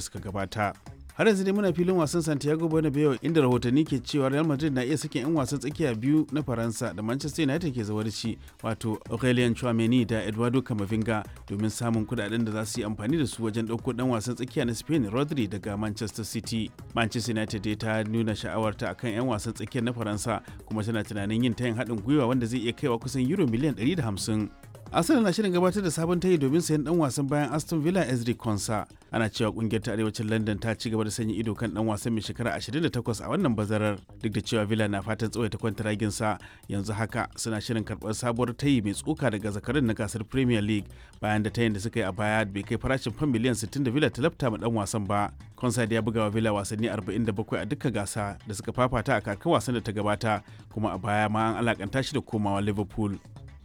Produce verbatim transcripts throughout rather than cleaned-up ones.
suka gabata. Har yanzu dai muna filin wasan Santiago Bernabeu, inda rahotanni ke cewa Real Madrid na iya sakin 'yan wasan tsakiya biyu na Faransa da Manchester United ke zawarci, wato Aurelien Chouameni da Eduardo Camavinga, domin samun kudaden da za su yi amfani da su wajen ɗauko dan wasan tsakiya na Spain Rodri daga Manchester City. Manchester United dai ta nuna sha'awarta akan 'yan wasan tsakiyar na Faransa, kuma tana tunanin yin tayin haɗin gwiwa wanda zai iya kaiwa kusan euro miliyan ɗari da hamsin. Arsenal na shirin gabatar da sabon tayi domin sayan dan wasan bayan Aston Villa Ezri Konsa. Ana cewa kungiyar ta arewacin London ta ci gaba da sanya ido kan dan wasan mai shekara ashirin da takwas a wannan bazarar, duk da cewa Villa na fatan tsawaita kwantaragin sa. Yanzu haka suna shirin karbar sabuwar tayi mai tsoka daga zakarin na gasar Premier League, bayan da tayin da suka yi a baya bai kai farashin fam miliyan sittin da Villa ta lafta ma dan wasan ba. Konsa da ya buga wa Villa wasanni arba'in da bakwai a dukkan gasa da suka fafata a kakar wasan da ta gabata, kuma a baya ma an alakanta shi da komawa Liverpool.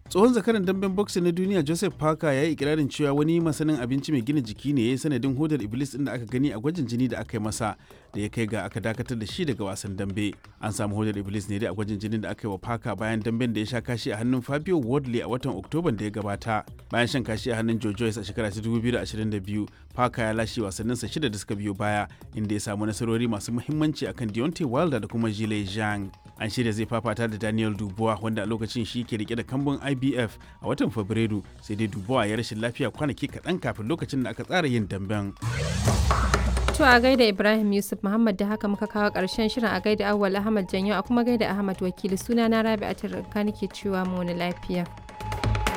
Tsohon zakaran damben boxing na duniya Joseph Parker ya yi ikirarin cewa wani masanin abinci mai gina jiki ne ya yi sanadin hodar iblis din da aka gani a gwajin jini da aka yi masa da ya kai ga aka dakatar da shi daga wasan dambe. An samu hodar iblis ne dai a gwajin jinin da aka yi wa Parker bayan damben da ya sha kashi a hannun Fabio Wardley a watan Oktoban da ya gabata. Bayan shan kashi a hannun Joe Joyce a shekara ta dubu biyu da ashirin da biyu, Parker ya lashe wasanninsa shida da suka biyo baya, inda ya samu nasarori masu muhimmanci akan Deontay Wilder da kuma Zhilei Zhang. An shirya zai fafata da Daniel Dubois, wanda a lokacin shi ke rike da kambun I B F, a watan Fabrairu, sai dai Dubois ya rashin lafiya kwanaki kaɗan kafin lokacin da aka tsara yin damben. To a gaida Ibrahim Yusuf Muhammad. Da haka muka kawo ƙarshen shirin. A gaida Awwal Ahmad Janyo, a kuma gaida Ahmad Wakili. Suna na Rabi'a Tarka nake cewa mu wani lafiya.